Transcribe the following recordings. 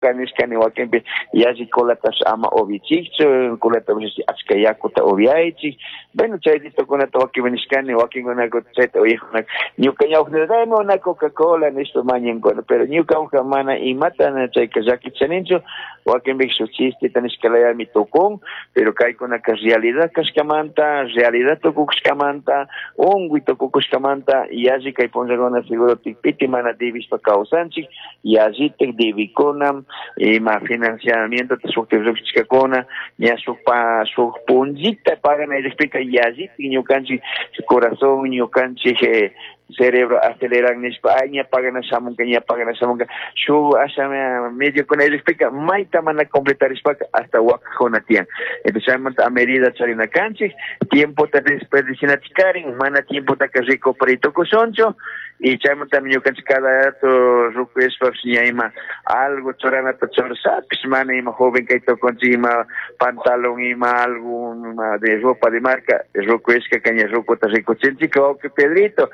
Nishkani wakinpi yalli colatash ama upichikchu, colata achka yakuta upiaychik. Bueno, chaytitukunata wakinpi nishkani, wakinkunaka chayta uyajkunaka ñuka ñawpaqta una Coca-Cola nishpa mañankuna, pero ñuka mana imata chayka llakichaninchu, wakinpi shuk chisteta nishkalayami tukun, pero kaykunaka realidad kashkamanta, realidad tukushkamanta, unkuy tukukushkamanta, yalli kay punllakuna seguro tikpiti mana debishpa kawsanchik, yallitik debikuna, ima financiamiento shuk lluqshishkakuna, ña shuk pa shuk punllita paganayllakpika yallitik ñukanchik corazón, ñukanchik cerebro aceleran nishpa, ay ña pagana shamunka, ña pagana shamunka, shuk asha medio kunayllakpika mayta mana completarishpaka hasta wakakuna tiyan. Entonces chaymanta a medida charina kanchik, tiempota desperdicianachikarin, mana tiempotaka recuperay tukushunchu, y chaymanta ñukanchik cada rato rukuyashpapish ña ima algo churanata churashapish mana ima joven kay tukunchik, ima pantalón, ima algo ima de ropa de marca, rukuyashkaka ña rukuta rikuchinchik, wawqi Pedrito.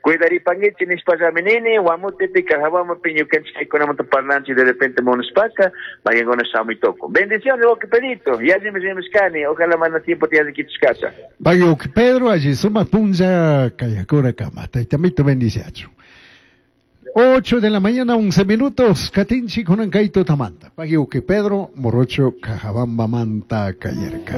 Cuidaripanguichi nishpallami nini, Guamutepi, Cajabamapi, ñukanchik kaykunamanta parlanchik de repente munashpaka, mayankuna shamuy tukun. Bendiciones, wawqi Pedrito, yallimi rimashkani, ojalá mana tiempo tiyallikichishkacha. Pagui wawqi Pedro, alli sumak punlla kayakura kama, taytamito bendiciachu. 8 de la mañana, 11 minutos, Katinchi kunan kay tutamanta. Pagui wawqi Pedro, Morocho, Cajabamba manta, Cayerca.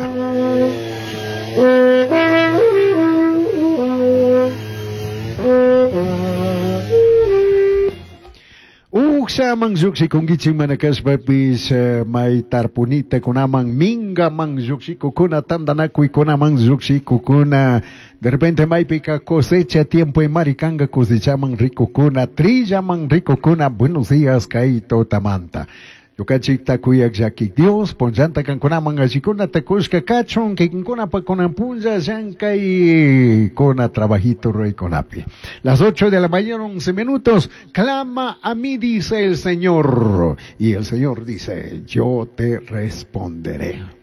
Ukshaman lluqshikunkichik mana kashpapis may tarpunita kunaman mingaman lluqshikukuna tantanakuykunaman lluqshikukuna de repente maypika cosecha tiempo imarikanga cosechaman rikukuna trillaman rikukuna. Buenos días kay tutamanta. Ñukanchik kuyak llakik Dios, punllanta kankunaman allikunata kushka kachun, kikinkunapa kunan punlla llankay kuna trabajito ruraykunapi. Las 8 de la mañana, 11 minutos, clama a mí, dice el Señor. Y el Señor dice, yo te responderé.